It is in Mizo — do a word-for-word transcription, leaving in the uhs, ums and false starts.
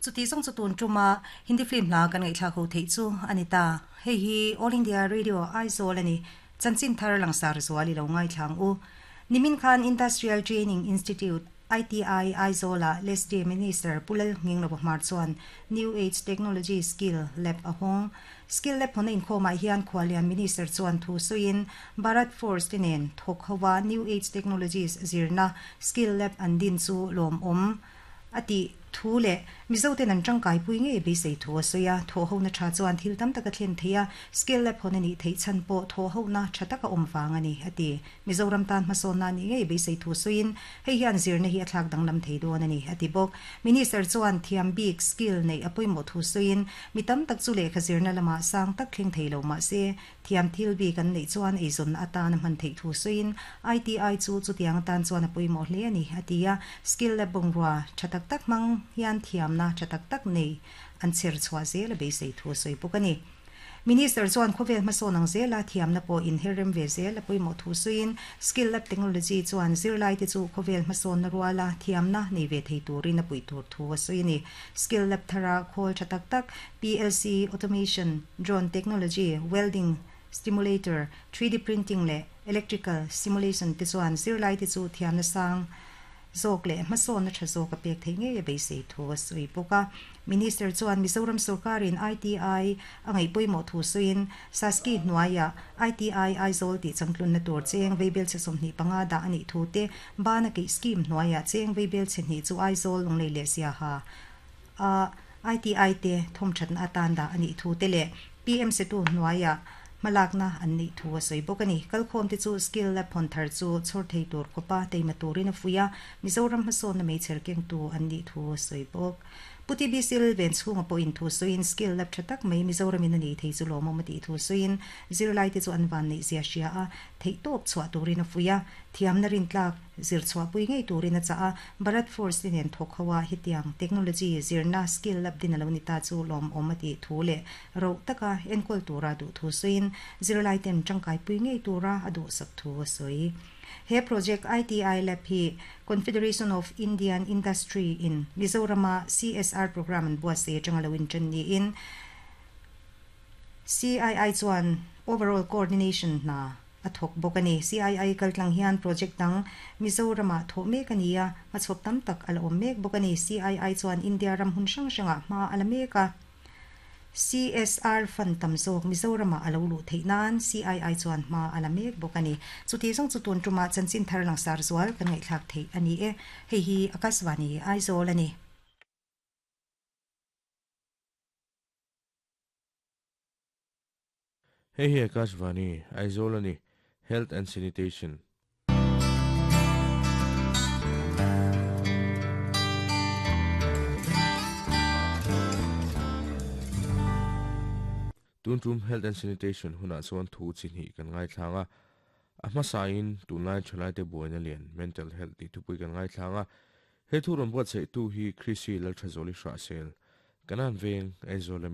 Chuti zawng chu tun tuma Hindi film hla kan ngaihthlak ho theih chu a ni ta. Hei hi All India Radio Aizawl a ni. Chanchin thar langsar zual i lo ngaithlang u. Nimin khan Industrial Training Institute, I T I, Aizawl-ah Lesde Minister Pu Lalnghinglova Hmar chuan New Age Technology Skill Lab a hawng. Skill Lab hawnna inkhawmah hian Khualian Minister chuan thu sawiin Bharat Forge te nen thawk hova New Age Technologies zirna Skill Lab an din chu lawmawm a tih thu leh Mizoten an tangkaipui ngei beisei thu a sawi a. Thawhhona tha chuan thil tam tak a thlen thei a, Skill Lab hawn a nih theih chhan pawh thawhhona tha taka awm vang a ni, a ti. Mizoram tan hmasawnna a nih ngei beisei thu sawiin hei hian zirna hi a thlak danglam thei dawn a ni, a ti bawk. Minister chuan thiam bik, skill, neih a pawimawh thu sawiin mi tam tak chu lehkha zirna lamah sang tak thleng thei lo mah se thiam thil bik an neih chuan eizawnna atan a hman theih thu sawiin I T I chu chutiang atan chuan a pawimawh hle a ni, a ti a. Skill Lab bungrua tha tak tak hmang hian thiamna tha tak tak nei an chher chhuah zel a beisei thu a sawi bawk a ni. Minister chuan khawvel hmasawn ang zela thiamna pawh inherrem ve zel a pawimawh thu sawiin Skill Lab Technology chuan zirlaite chu khawvel hmasawnna ruala thiamna nei ve thei turin a puih tur thu a sawi a ni. Skill Lab thara khawl tha tak tak P L C, Automation, Drone Technology, Welding Stimulator, three D Printing leh Electrical Simulation te chuan zirlaite chu thiamna sang zawk leh hmasawnna tha zawk a pek theih ngei a beisei thu a sawi bawk a. Minister chuan Mizoram sorkarin I T I a ngaih pawimawh thu sawiin SASCI hnuaiah I T I Aizawl tih changtlunna tur cheng veibel chhe sawmhnih panga dah a nih thu te, bana keih scheme hnuaiah cheng veibel chhe hnih chu Aizawl, Lunglei leh Siaha a I T I te thawmthatna atan dah a nih thu te leh P M Setu hnuaiah hmalakna an nih thu a sawi bawk a ni. Kalkhawm te chu Skill Lab hawn thar chu chhawr thei tur khawpa teima turin a fuih a, Mizoram hmasawnna meichher kengtu an nih thu a sawi bawk. Pu T B C Lalvenchhunga pawhin thu sawiin Skill Lab tha tak mai Mizoramin a nih thei chu lawmawm a tih thu sawiin zirlaite chu an van neih zia hria a, theihtawp chhuah turin a fuih a, thiamna rintlak zir chhuahpui ngei turin a chah a. Bharat Forge te nen thawk ho a hetiang technology zirna Skill Lab din a lo ni ta chu lawmawm a tih thu leh roh taka enkawl tura duh thu sawiin zirlaiten tangkaipui ngei tura a duhsak thu a sawi. He project I T I Lab hi Confederation of Indian Industry in Mizorama C S R program an buatsaih atanga lo intan niin C I I chuan overall coordination hna a thawk bawk a ni. C I I kaltlang hian project dang Mizorama thawh mek a ni a, hmachhawp tam tak a la awm mek bawk a ni. C I I chuan India ram hun hrang hrangah hma a la mek a. C S R fund tam zawk Mizorama a lo luh theih nan C I I chuan hma a la mek bawk a ni. Chuti zawng chu tun tuma chanchin thar langsar zual kan ngaihthlak theih a ni e. Hei hi Akashvani Aizawl a ni. Hei hi Akashvani Aizawl a ni. Health and Sanitation. Tun tum Health and Sanitation hunah chuan thu chi hnih kan ngaithlang a. A hmasain tunlai thalaite buaina lian Mental Health tih thupui kan ngaithlang a. He thu rawn buatsaihtu hi Chrissy Lalthazawli Hrahsel, Kanan Veng, Aizawl ami.